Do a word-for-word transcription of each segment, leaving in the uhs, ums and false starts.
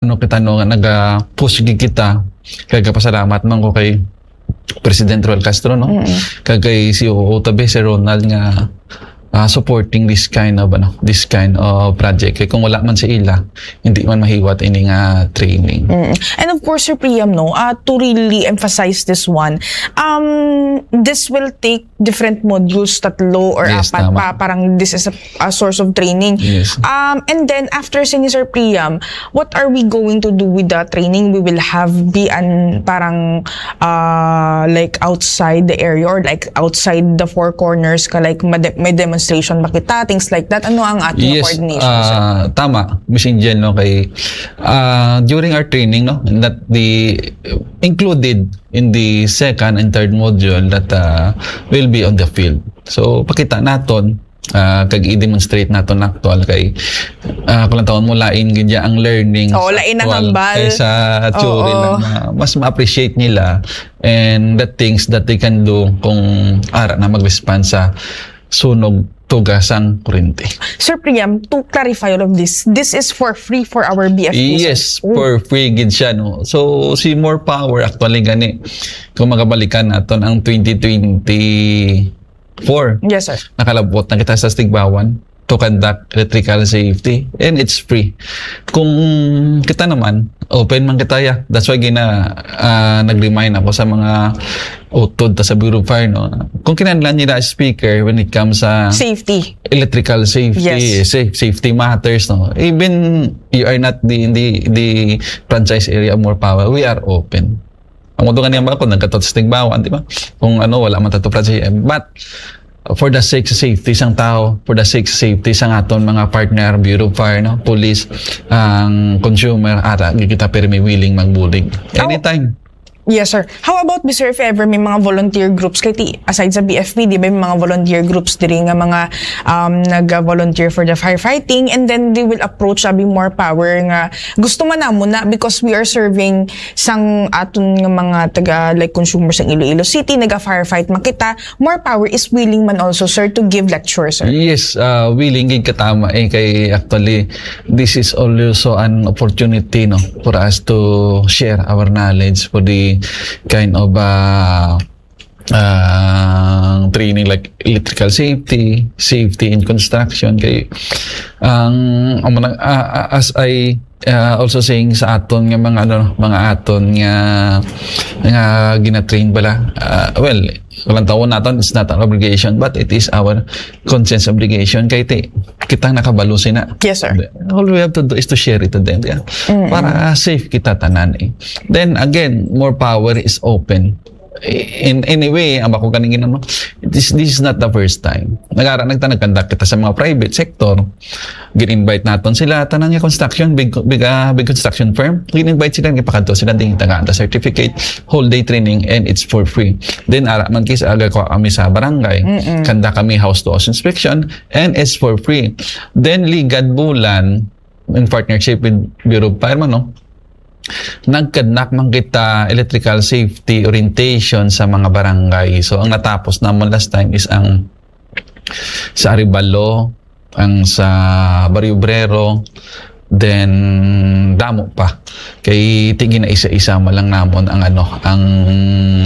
ano kita, no, nga naga-push gid kita. Kay gapasalamat man ko kay President Roel Castro, no? Mm. Kag kay C O O tabi, Sir Ronald, nga, ah, supporting this kind of, ano, this kind of project. Kay kung wala man si ila, hindi man mahiwat ini nga training. Mm. And of course, Sir Priam, no, ah, to really emphasize this one, um, this will take different modules, tatlo or Yes, apat tama. pa. Parang this is a, a source of training. Yes. Um, and then after, Senior Sir Priam, what are we going to do with the training? We will have be an parang, uh, like, outside the area or, like, outside the four corners ka, like, made-, may demonstration ba kita, things like that. Ano ang ating Yes, coordination, sir? ah, tama, Miss Angel, no, kay, ah, during our training, no, that the included in the second and third module that, ah, will be on the field. So, pakita naton, ah, kag i-demonstrate naton actual kay, ah, kung lang taon mo, lain gid ya ang learning sa Oo, lain ang actual hambal. kaysa theory Oo. lang na mas ma-appreciate nila and the things that they can do kung ara na mag-respond sa sunog, tuga sang kurente. Sir Priam, to clarify all of this, this is for free for our B F P, sir? Yes, Oh. for free gid siya, no. So, si More Power actually gani, kung magabalikan naton ang twenty twenty-four, Yes, sir. nakalabot na kita sa Stigbawan to conduct electrical safety, and it's free. Kung kita naman, open man kita, ya. That's why gina, ah, nag-remind ako sa mga utod ta sa Bureau of Fire, no? Kung kinahanglan nila speaker when it comes sa Safety. electrical safety, Yes. safe, safety matters, no? Even you are not the, the, the franchise area of More Power, we are open. Ang mga nga niya, kung nagkatapos Stigbawan, di ba? Kung ano, wala man tato franchise, but for the sake sa safety sang tao, for the sake sa safety sang aton mga partner, Bureau of Fire, no, police, ang consumer, ara, di kita pirmi willing magbulig. How Anytime. Yes, sir. How about, sir, if ever may mga volunteer groups, kay ti, aside sa B F P, di ba, may mga volunteer groups diri nga mga, um, nag-volunteer for the firefighting, and then they will approach, sabi, More Power nga gusto man namo na because we are serving sang aton nga mga taga, like, consumer sang Iloilo City, naga-firefight man kita, More Power is willing man also, sir, to give lecture, sir. Yes, uh, willing gid katama eh, kay actually this is also an opportunity, no, for us to share our knowledge for the kind of, uh, uh, training like electrical safety, safety in construction. Kay ang, ang mga, uh, uh, as I, uh, also saying sa aton nga mga, ano, mga aton nga, nga ginatrain bala, uh, well, walang tawon naton, it's not an obligation, but it is our conscience obligation. Kay ti, kitang nakabalo sina. Yes, sir. All we have to do is to share it to them, yeah. Mm-mm. Para safe kita tanan eh. Then again, More Power is open. In any way, ang ako kaning ginano, this, this is not the first time. Nagara nagta nagkandak kita sa mga private sector. Gin-invite naton sila, tanan nga construction, big, big, ah, big construction firm. Gin-invite sila, gipakadto sila, din tagaan ta certificate, whole day training, and it's for free. Then, ara man kis aga ko kami sa barangay, Mm-mm. kanda kami house to house inspection, and it's for free. Then, Ligad Bulan, in partnership with Bureau of Fire man, no? Nagkadnak man kita electrical safety orientation sa mga barangay. So, ang natapos naman last time is ang sa Arevalo, ang sa Barrio Obrero, then damo pa. Kay ti ginaisa-isa man lang namon ang, ano, ang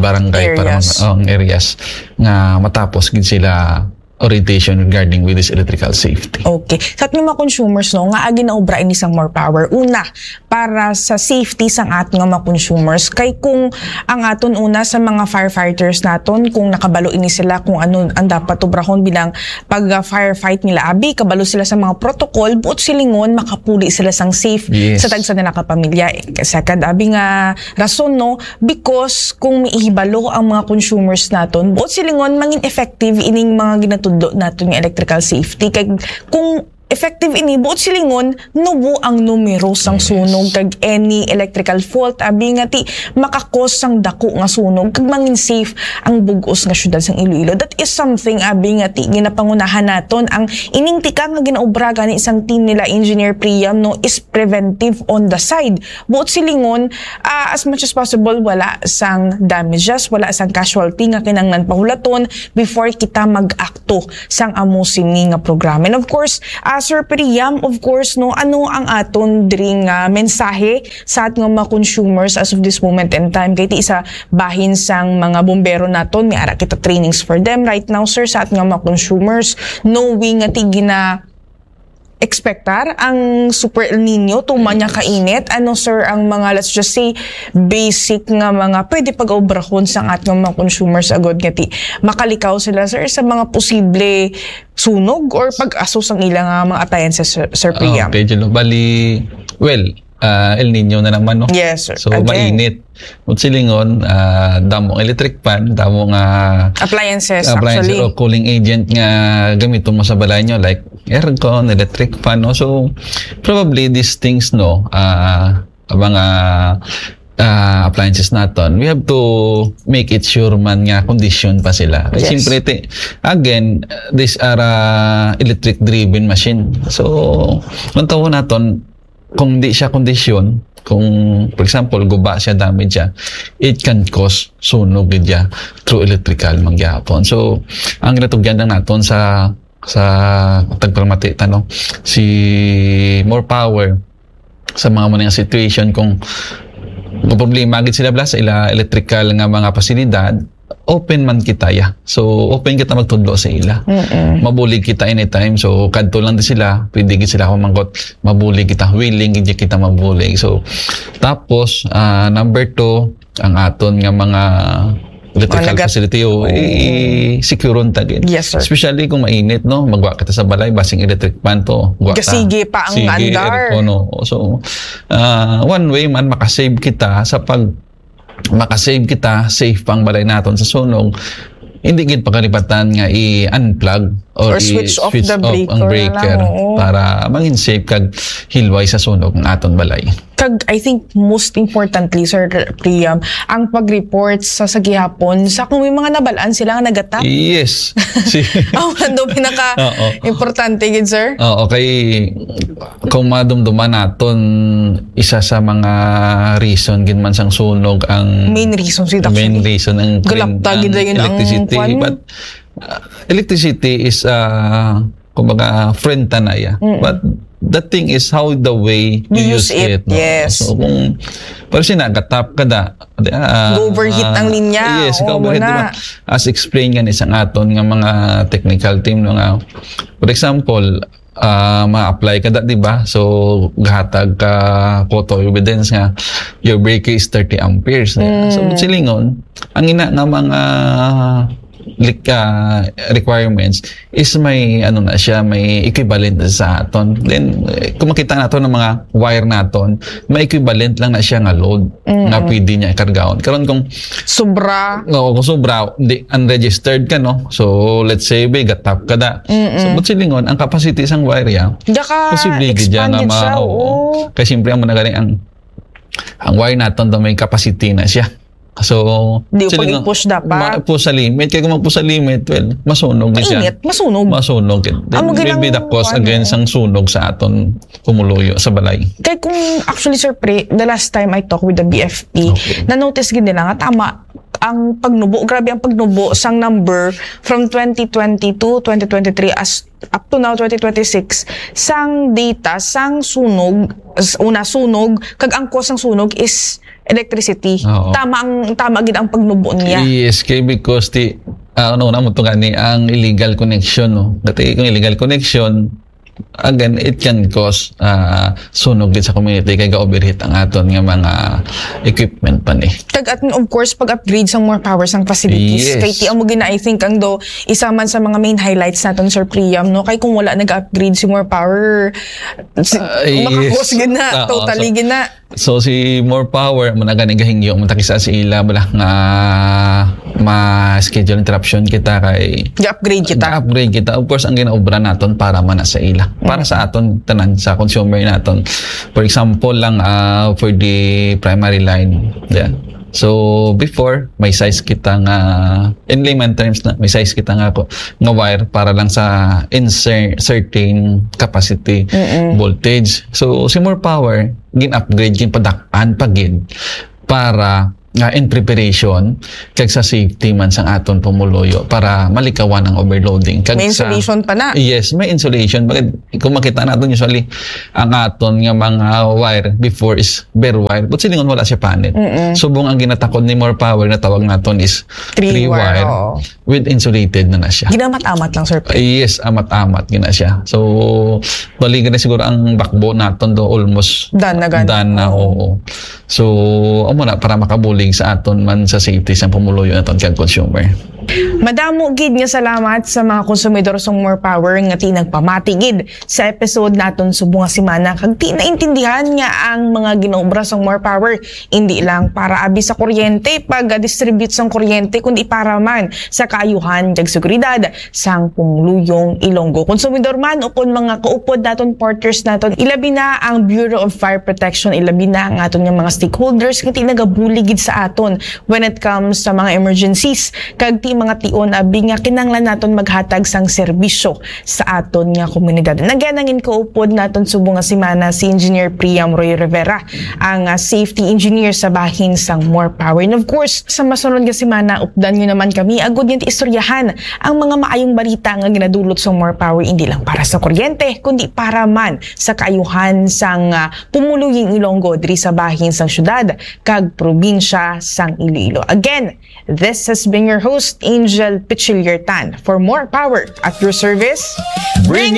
barangay para Areas. mga, ang areas nga matapos gid sila orientation regarding with this electrical safety. Okay. Sa ating mga consumers, no, nga agi na obra ini sang More Power. Una, para sa safety sang aton nga mga consumers. Kay kung ang aton una sa mga firefighters naton, kung nakabalo ini sila kung ano ang dapat obrahon bilang pag-firefight nila, abi, kabalo sila sa mga protocol, buot silingon, makapuli sila sang safe Yes. sa tagsa nila ka pamilya. Sa kad abi nga rason, no, because kung maihibalo ang mga consumers naton, buot silingon, mangin effective ining mga ginatudlo naton nga electrical safety. Kay kung effective ini, buot silingon, nubo ang numero sang Yes. sunog kag any electrical fault, abi nga ti makakos sang dako nga sunog kag mangin safe ang bug-os nga syudad sang Iloilo. That is something, abi nga ti ginapangunahan naton ang ining tika nga ginaobra gani sang team nila Engineer Priam, no, is preventive on the side. Buot silingon, ah, as much as possible, wala sang damages, wala sang casualty nga kinahanglan pahulaton before kita mag-akto sang amo sini nga programa. And of course, ah, Sir Priam, of course, no, ano ang aton diri nga mensahe sa aton nga mga consumers as of this moment in time? Kay ti isa bahin sang mga bombero naton, may ara kita trainings for them right now, sir, sa aton nga mga consumers, knowing nga ti gina expectar ang Super El Nino, tuman nga kainit. Ano, sir, ang mga, let's just say, basic nga mga pwede pag-obrahon sang aton mga consumers agod nga ti makalikaw sila, sir, sa mga posible sunog or pag-aso sang ila nga mga appliances, sir, sir Ah, Priam? Okay, Julo. Bali, well, ah, El Nino na naman, no? Yes, sir. So, Again. mainit. Kung silingon, ah, damo ang electric fan, damo nga Appliances, appliances actually. o cooling agent nga gamiton mo sa balay nyo, like aircon, electric fan, no? So, probably these things, no, ah, ang mga, ah, appliances naton, we have to make it sure man nga condition pa sila. Kay Yes. siyempre, ti-, again, these are, ah, electric-driven machine. So, ang tawag naton, kung di siya kondisyon, kung, for example, guba siya, damage siya, it can cause sunog gid siya through electrical man gyapon. So, ang ginatugyan lang naton sa, sa tagpalamati ta, no, si more power sa mga mo nga situation, kung problema gid sila bala sa ila electrical nga mga pasilidad, open man kita, ya. So, open kita magtudlo sa ila. Mm-mm. Mabulig kita anytime. So, kadto lang din sila. Pwede gid sila humangkot. Mabulig kita. Willing gid kita mabulig. So, tapos, ah, number two, ang aton nga mga electrical Mga nagat- facility, o, Oo. i-, i-secure ta gid. Yes, sir. Especially kung mainit, no? Magwa kita sa balay, basing electric fan to. Gwa ta. Gasigi pa ang Sige, andar. aircon, no? So, ah, one way man, makasave kita sa pag makasave kita, safe pa ang balay naton sa sunog, hindi gid pakalipatan nga i-unplug or Or switch off i-switch the off ang breaker na breaker lang, oo. para maging safe kag hilway sa sunog ang aton balay. Kag, I think, most importantly, Sir Priam, ang pag-report sa, sa gihapon, sa kung may mga nabalaan sila nga nagatap. Yes. Si Ang ano, pinaka Oo. importante gid, sir? Oo, kay kung madumduman naton, isa sa mga reason gid man sang sunog ang Main reason, sir, main actually. reason ang Galapta gid ang dayon ang electricity. kwan. But, uh, electricity is, uh, kumbaga, friend ta na ya. Mm-mm. But the thing is how the way You you use use it, it, no? yes. So, kung, pero siya nagatap ka da, di, ah, Go overheat ah, ang linya. yes, Oo, go overheat, muna. di ba? As explained nga ni sang aton nga mga technical team, no, nga, for example, ah, ma-apply ka da, di ba? So, gahatag ka photo evidence nga your breaker is thirty amperes. Mm. So, silingon, ang ina nga mga lik-, ah, requirements is may, ano na siya, may equivalent sa aton. Then, eh, kung makita nato ng mga wire naton, may equivalent lang na siya nga load Mm. nga pwede niya ikargaon. Karon kung Sobra. Oo, kung sobra, di, unregistered ka, no? So, let's say, be, gatap ka da. Mm-mm. So, but silingon, ang capacity sang wire ya, Gaka posible gid siya expand nga gid ma-, siya, oo. oo. Kay siyempre, ang managari, ang, ang wire naton daw may capacity na siya. So, Di ko silingon, pag-i-push dapat. ma-, push sa limit. Kaya kung mag-push sa limit, well, masunog gid siya. Mainit, masunog. Masunog gid. Then, Amo gid maybe ang the cause kuwan, again eh. sang sunog sa aton kumuluyo sa balay. Kay kung, actually, Sir Pre, the last time I talked with the B F P, Okay. na-notice gid nila nga tama ang pagnubo, grabe ang pagnubo sang number from twenty twenty-two, twenty twenty-three, as up to now, twenty twenty-six, sang data, sang sunog, s-, una sunog, kag ang cause sang sunog is electricity. Oo. Tama ang, tama gid ang pagnubo niya. Yes, kay because ti, ah, ano na mo to gani ang illegal connection, no? Dati kung illegal connection, again, it can cause, ah, sunog gid sa community kay ga-overheat ang aton nga mga equipment pa ni. Kag at, of course, pag-upgrade sang more power sang facilities. Yes. Kay ti amo gina, I think, ang do, isa man sa mga main highlights naton, Sir Priam, no? Kay kung wala nag-upgrade si more power, si, Ah, yes. makakos gid na, Oo, totally so, gid na. So, si More Power, mo na gani gahingyo, mo takisa sa ila, bala nga ma-schedule interruption kita kay Ga-upgrade kita. ga-upgrade kita. Of course, ang ginaobra naton para man na sa ila. Para Mm. sa aton, tanan, sa consumer naton. For example lang, ah, for the primary line. Yeah. So, before, may size kita nga, in layman terms na, may size kita nga ko, nga wire para lang sa in cer-, certain capacity Mm-mm. voltage. So, si More Power, gin-upgrade, ginpadak-an pa gid para nga in preparation kag sa safety man sang aton pumuluyo para malikawan ang overloading. Kag May sa- insulation pa na. Yes, may insulation. Bakit, kung makita natin usually, ang aton nga mga wire before is bare wire. But silingon wala siya panit. Subong ang ginatakod ni More Power na tawag naton is Three three, wire, wire, oo. With insulated na na siya. Ginamat-amat lang, sir. Yes, amat-amat gina siya. So, bali gani siguro ang backbone naton do almost Done na gani. Done na, oo. So, amo na para makabulig sa aton man sa safety sa pumuluyo naton kag consumer. Madamo gid nga salamat sa mga konsumidor sang More Power nga ti nagpamati gid sa episode naton subong nga semana, kag ti naintindihan nga ang mga ginaobra sang More Power indi lang para abi sa kuryente, pag-distribute sang kuryente, kundi para man sa kaayuhan kag seguridad sang pumuluyong Ilonggo. Konsumidor man ukon mga kaupod naton, partners naton, ilabi na ang Bureau of Fire Protection, ilabi na ang aton nga mga stakeholders nga ti nagabulig gid sa aton when it comes sa mga emergencies, kag ti mga tion abi nga kinahanglan naton maghatag sang serbisyo sa aton nga komunidad. And again, ang inkaupod naton subong nga semana si Engineer Priam Roy Rivera, ang ah, safety engineer sa bahin sang More Power. And of course, sa masunod nga semana, updan nyo naman kami agud nga istoryahan ang mga maayong balita nga ginadulot sang More Power, hindi lang para sa kuryente, kundi para man sa kaayuhan sang ah, pumuluyong Ilonggo diri sa bahin sang syudad kag probinsya sang Iloilo. Again, this has been your host, Angel Pichiliertan. For More Power at your service, Bring